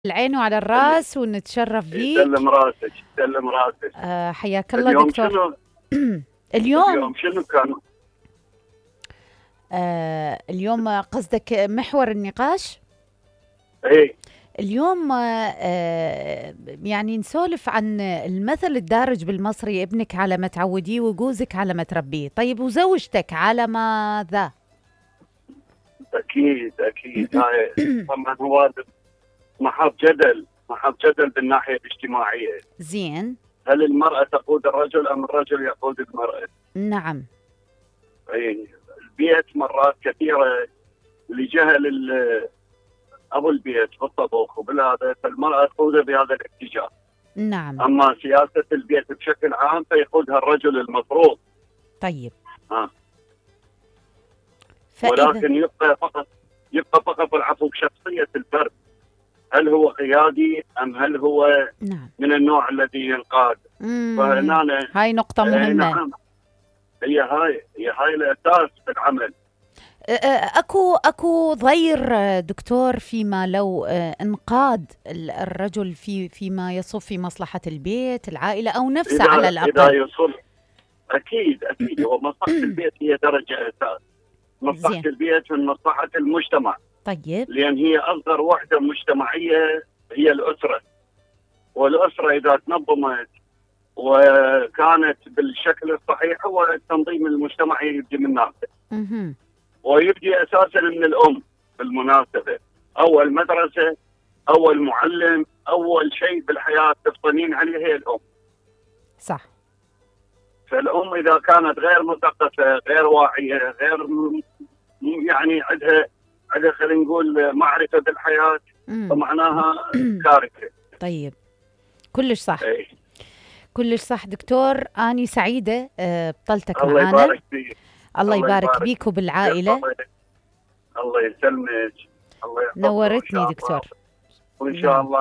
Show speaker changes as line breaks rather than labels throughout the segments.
العين وعلى الراس ونتشرف فيك.
يسلم راسك يسلم راسك.
حياك الله
اليوم
دكتور.
شنو؟
اليوم
شنو كان؟
اليوم قصدك محور النقاش؟
ايه
اليوم يعني نسولف عن المثل الدارج بالمصري: ابنك على ما تعوديه وجوزك على ما تربيه. طيب وزوجتك على ماذا؟
اكيد هاي طبعا هو محط جدل بالناحيه الاجتماعيه.
زين.
هل المراه تقود الرجل ام الرجل يقود المراه؟
نعم.
اي البيت مرات كثيره لجهل ابو البيت بالطبخ وبالهذا، فالمراه تقوده بهذا الاتجاه.
نعم.
اما سياسه البيت بشكل عام فيقودها الرجل المفروض.
طيب.
ولكن يبقى فقط العفو بشخصيه الفرد. هل هو قيادي ام هل هو
نعم.
من النوع الذي ينقاد؟ فهنا
هاي نقطه مهمه.
نعم. هي الاساس في العمل.
اكو ضير دكتور فيما لو انقاد الرجل فيما يصب في مصلحة البيت العائلة او نفسه على الاقل.
اذا يصل اكيد هو مصلحة البيت هي درجة اساس. مصلحة البيت من مصلحة المجتمع.
طيب.
لان هي اصغر وحدة مجتمعية هي الاسرة. والاسرة اذا تنظمت وكانت بالشكل الصحيح هو التنظيم المجتمعي يبدي من نفسه. ويبدي اساسا من الام بالمناسبه. اول مدرسه، اول معلم، اول شيء بالحياه تفطنين عليه هي الام.
صح.
فالام اذا كانت غير مثقفه، غير واعيه، غير يعني عندها خلينا نقول معرفه بالحياه، فمعناها كارثه.
طيب كلش صح. كلش صح دكتور. اني سعيده بطلتك معنا.
الله يبارك فيك.
الله يبارك بيك وبالعائلة.
الله يسلمك. الله يحفظك.
نورتني دكتور.
وإن شاء الله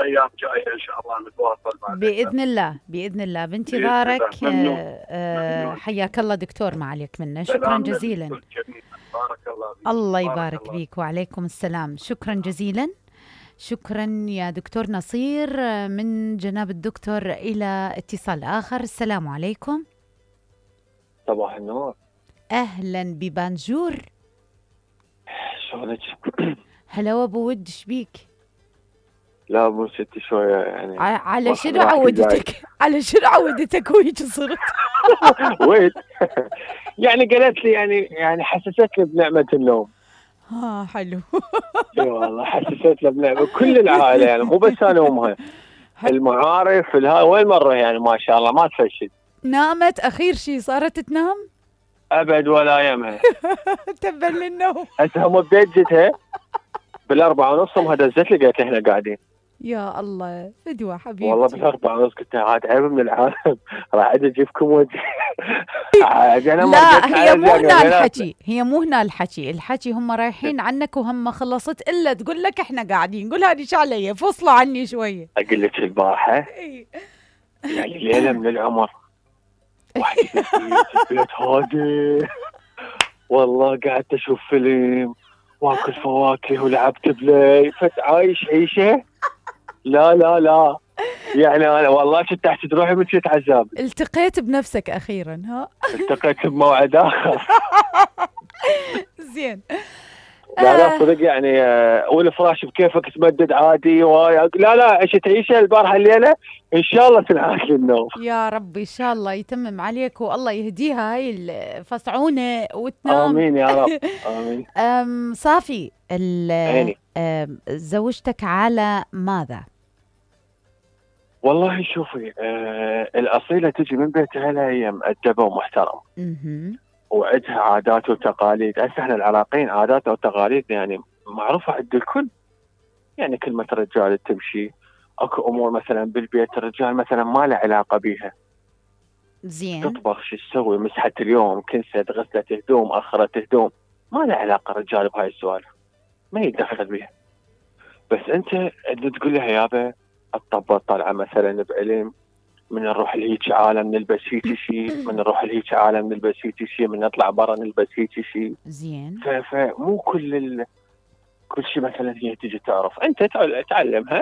أيام جاية إن شاء الله نتواصل معك
بإذن الله بانتظارك. حياك الله دكتور، ما عليك منا. شكرا جزيلا.
بارك الله فيك.
الله يبارك بيك. وعليكم السلام. شكرا جزيلا. شكرا يا دكتور نصير. من جناب الدكتور إلى اتصال آخر. السلام عليكم.
صباح النور.
أهلا ببانجور.
شلونك؟
هلا أبو ود، شبيك؟
لا أبو ستي شوية يعني.
على شنو عودتك؟ على شنو عودتك وهيك صرت؟
ويت يعني قالت لي يعني حسستني بنعمة النوم.
حلو.
اي والله حسستنا بنعمة كل العائلة يعني، مو بس أنا وأمها. المعارف وين مرة يعني ما شاء الله ما تفشل.
نامت أخير شيء صارت تنام؟
أبد ولا يمها.
تبا للنوم.
هسه هم ببيت جتها 4:30 امها دزت لي قالت لي احنا قاعدين.
يا الله فدوة حبيبتي.
والله 4:30 قلت لها عاد عيب من العالم راح اجي اجيبكم وجه.
لا هي مو هنا الحكي هم رايحين عنك وهم خلصت الا تقول لك احنا قاعدين. قول هذه شو علي، فصلوا عني شويه.
اقول لك البارحه يعني ليله من العمر واحد البيت هادي والله قعدت اشوف فيلم واكل فواكه ولعبت بلاي عايش عيشه. لا يعني انا والله كنت تحت روحي من كنت عذاب.
التقيت بنفسك اخيرا.
التقيت بموعد اخر.
زين.
لا صدق يعني والفراش بكيفك تمدد عادي. لا عشت عيشه البارحه الليله ان شاء الله تنعاد للنوم.
يا رب ان شاء الله يتمم عليك والله يهديها هاي الفصعونه وتنام.
امين يا رب امين.
صافي. زوجتك على ماذا؟
والله شوفي الاصيله تجي من بيت اهلها هي مؤدبه ومحترمه. وعندها عادات وتقاليد. هسه احنا العراقيين عاداتنا وتقاليد يعني معروفه عند الكل. يعني كلمه الرجال تمشي. اكو امور مثلا بالبيت الرجال مثلا ما له علاقه بيها.
زين.
تطبخ شو تسوي، مسحت اليوم، كنست، غسلت هدوم، اخرت هدوم، ما له علاقه الرجال بهاي السوالف، ما يتدخل بيها. بس انت تقول لها يابا الطبه طالعه مثلا بعلم، من نروح لهيك عالم نلبس هيك شيء، من نروح لهيك عالم نلبس هيك شيء، من نطلع برا نلبس هيك شيء.
زين.
فمو كل شيء مثلا هي تجي تعرف، انت تعلمها